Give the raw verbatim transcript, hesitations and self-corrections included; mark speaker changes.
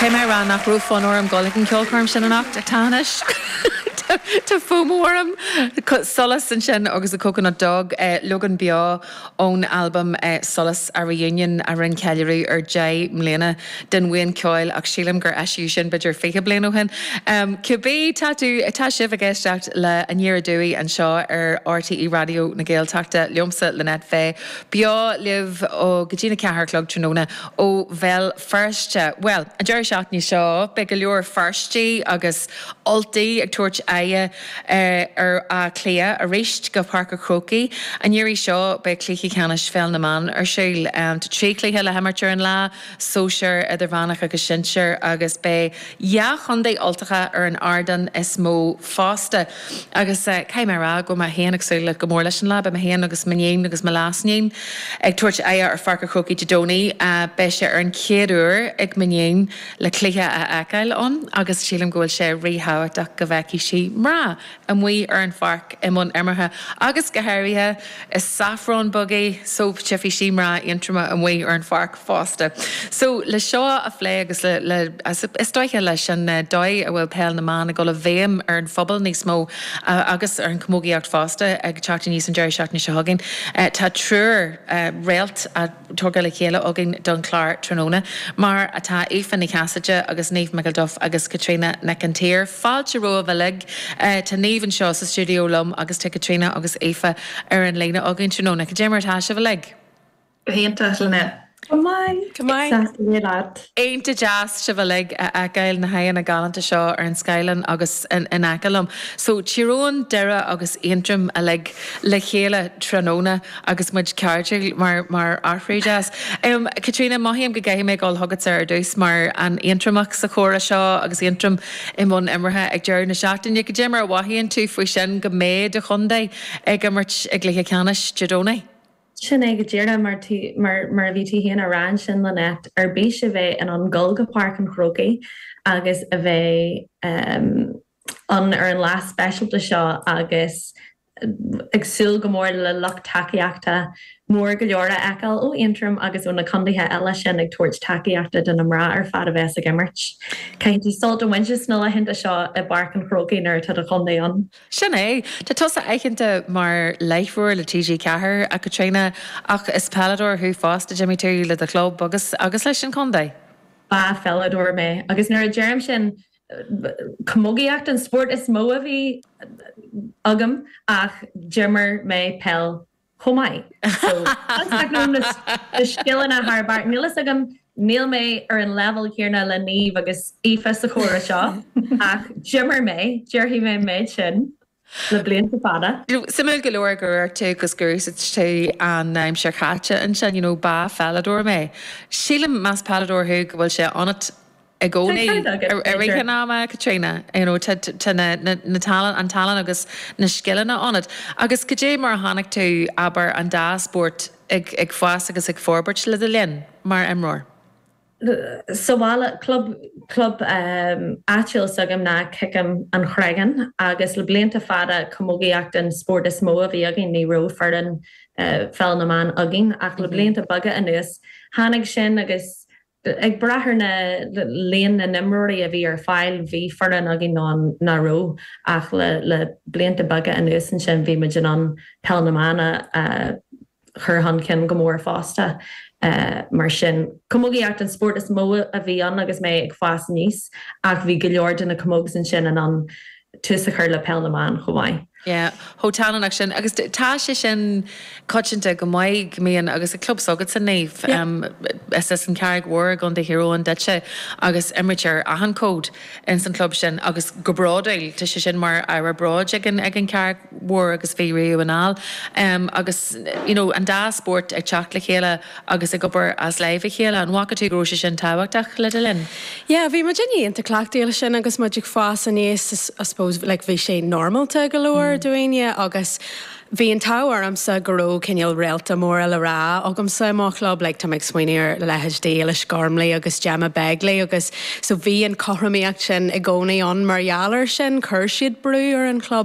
Speaker 1: Caithfidh mé a rá nach raibh fonn orm dul ag an ceolchoirm sin anocht ach tá anois. Tá FOMO orm Solas ansin agus a Coconut Dog eh, leagan beo ón albam eh, Solas a Reunion a rinne ceiliúradh ar deich mbliana den bhuíon ceoil ach sílim gur eisíodh sin b'fhéidir fiche bliain ó shin. Um, Cibé tá tú tá sibh ag éisteacht le Aniar Aduaidh anseo ar RTÉ Raidió na Gaeltachta liomsa Lynette Fay. Beo libh ó go dtí a ceathair a chlog tráthnóna ó Bhéal Feirste. Well, an deireadh seachtaine seo beidh go leor Feirstigh agus Ultaigh ag tabhairt aghaidh uh, ar Áth Cliath arís go Páirc an Chrócaigh. An iarraidh seo beidh cluiche ceannais pheil na mban ar siúl um, tá trí chluiche le himirt ar an lá, sóisear idirmheánach agus sinsear agus beidh dhá chontae Ultacha ar an ardán is mó fosta. Agus uh, caithfidh mé rá go mé féin ag súil go mór leis an lá, beidh mé féin agus m'iníon agus mo leasiníon ag tabhairt aghaidh ar Pháirc an Chrócaigh Dé Domhnaigh uh, beidh sé ar an chéad uair ag m'iníon le cluiche a fheiceáil ann agus sílim go bhfuil sé ríthábhachtach go bhfeicfidh sí mná amuigh ar an pháirc i mbun imeartha agus go háirithe is saffron buggy so tchífidh sí mná Aontroma amuigh ar an pháirc fosta. So le seo a phlé agus le, le is dóiche leis an eh, dóigh a bhfuil peil na mban ag dul i bhfeidhm ar an phobal níos mó uh, agus ar an chamógaíocht fosta ag teacht aníos an deireadh seachtaine seo chugainn. Uh, tá triúr uh, réalt a tugtha le chéile againn don chlár tráthnóna, mar atá Aoife Ní Chasaide agus Niamh McElduff agus Caitríona Nic an tSaoir. Fáilte romhaibh uilig uh, tá Niamh anseo sa stiúideo liom agus tá Caitríona agus Aoife ar an líne againn tráthnóna. Cad é mar atá sibh uilig.
Speaker 2: Hínta lenne.
Speaker 3: Go maith
Speaker 4: Go maith.
Speaker 1: Iontach deas sibh uilig a fheiceáil na haghaidheanna galánta seo ar an scáileán agus in, in aice liom. So Tír Eoghain Doire agus Aontroim uilig le chéile tráthnóna agus muid cairdiúil mar mar athrú deas. Um, Caitríona mothaím go gcaithfidh mé dul chugat ar dtús mar an Aontromach sa chomhrá seo agus Aontroim i mbun imeartha ag deireadh na seachtaine, cad é mar a mhothaíonn tú faoi sin go mbeidh do chontae ag imirt i gcluiche ceannais Dé Domhnaigh.
Speaker 3: Sin é go díreach mar tú mar mar a bhí tú féin a rá sin Lynette ar bís a bheith in ann dul go Páirc an Chrócaigh agus a bheith um, an ar an lá speisialta seo agus ag súil go mór le lucht tacaíochta mór go leor a fheiceáil ó Aontroim agus ó na contaetha eile sin ag tabhairt tacaíochta do na mná ar fad a bheas ag imirt. Caithfidh tú sult a bhaint as na laethanta seo i bPáirc an Chrócaigh nuair atá do chontae ann.
Speaker 1: Sin é Tá tusa aitheanta mar láithreoir le TG Ceathair a Chaitríona ach is peileadóir thú fosta d'imir tú le do chlub agus agus leis an contae.
Speaker 3: Ba pheileadóir mé agus nuair a deirim sin camógaíocht an spórt is mó a bhí agam ach d'imir mé peil chomh maith. So na scileanna thar barr níl agam níl mé ar an level céanna le Niamh agus Aoife sa chomhrá seo ach d'imir mé déarfaidh mé méid sin le blianta fada.
Speaker 1: Suimiúil go leor gur tú agus gur tú an aimsir chaite ansin you know, ba pheileadóir mé. Sílim más peileadóir thú go bhfuil sé ionat i gcónaí i rith an ama Caitríona tá na tallann an tallann agus na scileanna ionat. Agus cad é mar a chonaic tú abair an dá spórt ag, ag fás agus ag forbairt le do linn mar imreoir.
Speaker 3: Sa bhaile club club um, áitiúil s'agam ná Ciceam an Chreagan agus le blianta fada camógaíocht an spórt is mó a bhí againn ní raibh foireann uh, pheil na mban againn ach le blianta beaga anuas tháinig sin agus ag brath ar na líon na n-imreoirí a bhí ar fáil bhí foireann againn ná ná raibh ach le le blianta beaga anuas ansin bhí muid in ann peil na mban uh, chur chun cinn go mór fosta. Uh, mar sin camógaíocht an spórt is mó a bhí ann agus mé ag fás aníos ach bhí go leor de na camogs ansin in ann tús a chur le peil na mban chomh maith.
Speaker 1: Yeah, Hótanach sin agus tá sé sin coitianta go maith míon agus a club s'agat sa Niamh um, is is an Charraig Mhór i gContae Thír Eoghain duitse agus imrítear achan cód in san club sin agus go bródúil tá sé sin mar ábhar bróid ag an ag an Charraig Mhór agus bhí riamh anall um, agus you know, an dá spórt ag teacht le chéile agus ag obair as láimh a chéile an bhfaca tú go raibh sé sin tábhachtach le do linn.
Speaker 4: Yeah, bhí muid iontach cleachtaithe sin agus muid ag fás aníos I suppose like bhí sé normalta go leor mm. dúinne agus Bhí an t-ádh ormsa go raibh cineál réalta mór le rá agamsa i mo chlub le tá ag smaoineamh ar leithéidí Éilish Gormley agus Gemma Begley agus so bhí an chothromaíocht sin i gcónaí ann mar gheall air sin chuir siad brú ar an club